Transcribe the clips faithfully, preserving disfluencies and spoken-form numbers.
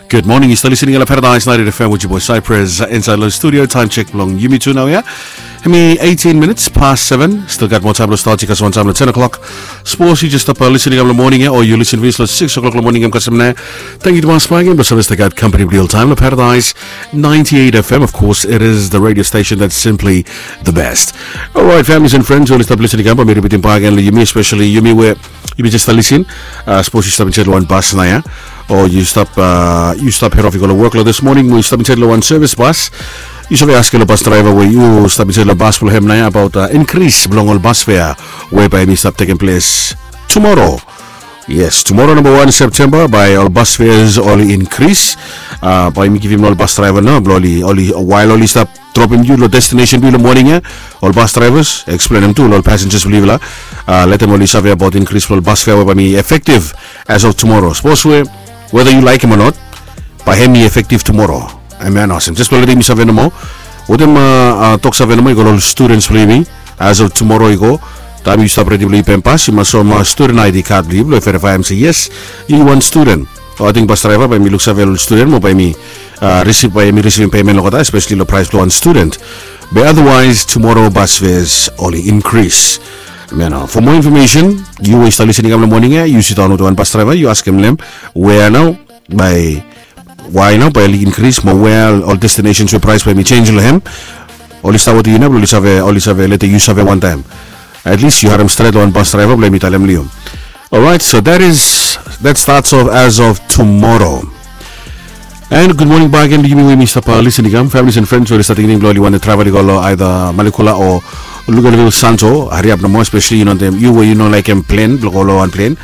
Gud moning, yu stap listening long Paradise ninety-eight F M with your boy Cypress inside long studio. Time check blong yumi tu nau ya. Hemi eighteen minutes past seven. Still gat moa taem blong start, yu gat wan taem long ten o'clock. Sapos yu jes stap listening long moning ya, o yu listen long six o'clock long moning ya, kasem na. Tangkiu tumas bak agen blong save stap gat kampani blong yu oltaem long Paradise ninety-eight F M. Of course, it is the radio station that's simply the best. Alright, families and friends, we oli stap listening, bae mi ripitim bak agen long yumi, especially yumi we yumi jes stap listening. Sapos yu stap insaed long wan bas nao ya, o yu stap yu stap head off i go long wok long this morning, we yu stap insaed long wan service bas, yu save askem long bas draeva we yu stap insaed long bas blong hem nao ya abaot inkris blong ol bas fea we bae hemi stap tekem ples tumoro. Yes, tumoro namba wan Septemba bae ol bas feas oli inkris. Bae mi givim long ol bas draeva nao blong oli, wael oli stap dropim yu long destination blong yu long moning ya, ol bas draevas eksplenem tu long ol passengers blong yufala, letem oli save abaot inkris blong ol bas fea we bae hemi efektiv as of tumoro. Sapos we weda yu laekem o not, bae hemi efektiv tumoro. Amen, awesome. Jes blong letem yumi save nomo wetem toksave nomo i go long ol studens blong yumi. As of tumoro i go, taem yu stap redi blong yu pem bas, yu mas soem studen I D kad blong yu blong verifaem se yes, yu wan studen. O ating bas draeva bae hemi luksave long ol studen mo bae hemi risivim, bae hemi risivim pemen long olgeta, espeseli long praes blong wan studen. Be otherwise tumoro bas feas oli inkris. Mo nao, for more information, yu we yu stap listening long moning ya, yu sidaon wetem wan bas draeva, yu askem long hem, wea nao bae, wae nao bae oli inkris, mo wea ol destinations we praes bae hemi jenis long hem. Oli stap wetem yu nao blong oli save, oli save letem yu save wantaem. At least yu harem stret long wan bas draeva blong hemi talem long yu. Alright, so that is, that starts off as of tomorrow. And gud moning bak agen long yumi we yumi stap listening, families and friends we oli stap tingting blong oli wantem travel i go long either Malekula o Luganville Santo, hariap nomo, espeseli yu no, yu we yu no laekem plen blong go long wan plen.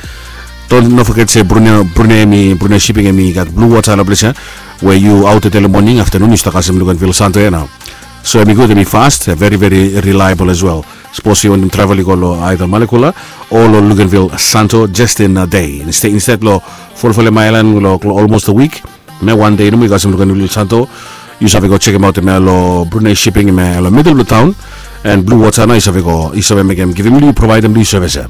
Don't, no foget se Brunei, Brunei hemi, Brunei Shipping hemi gat blu wota long ples ya, we yu aot tede long moning, aftenun yu stap kasem Luganville Santo ya nao. So hemi gud, hemi fas, veri veri reliable as well. Sapos yu wantem travel i go long either Malekula o long Luganville Santo, jes in a day, instead long folofolem aelan long olmos a wik, mo wan dei nomo yu kasem Luganville Santo, yu save go jekemaot hemia long Brunei Shipping, hemia long midel blong taon. And blu wota nao yu save go, yu save mekem, givim long yu, provaedem long yu sevis ya.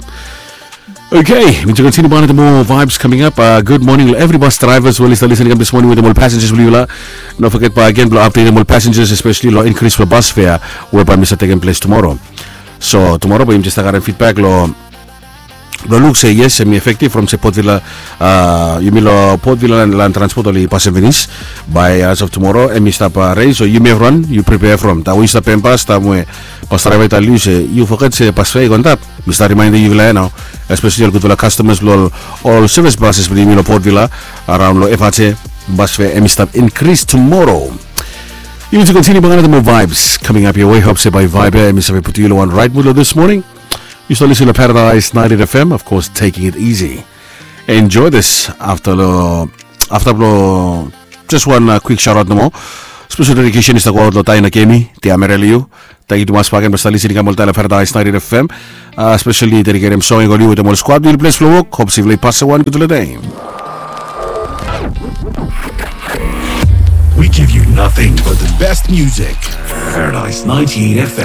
Okay, mi tu kontiniu bak long moa vibes coming up. Gud moning long evri bas draevas we oli stap listening this morning wetem ol passengers blong yufala. No foget bak agen blong apdetem ol passengers, espeseli long inkris blong bas fea we bae hemi stap tekem ples tumoro. So tumoro bae yumi jes stap karem fidbak long, blong luk se yes, hemi efektiv from se Port Vila, yumi long Port Vila Land Transport oli pasem finis. Bae as of tumoro hemi stap res, so yumi evriwan yu pripea from taem we yu stap pem bas, taem we bas draeva i talem long yu se yu foget se bas fea i go antap. Mi stap rimaendem yufala ya nao, espeseli ol gudfala kastamas blong ol sevis bases blong yumi long Port Vila, araon long F R T, bas fea hemi stap inkris tumoro. Yumi tu kontiniu bak long moa vibes coming up your way. Hop se bae vibe ya hemi save putum yu long wan raet mud long this morning. Yu stap listening long Paradise ninety-eight F M, of course, taking it easy. Enjoy this afta long, afta blong jes wan kwik shout out nomo. Spesel dedikesen i stap goaot long Taina Kemi, Tia Mere long yu. Tangkiu tumas bak agen blong stap listening kam oltaem long Paradise ninety-eight F M. Speseli dediketem song i go long yu wetem ol skwad blong yu long ples blong wok. Hop se yufala i pasem wan gudfala dei. We give you nothing but the best music. Paradise ninety-eight F M.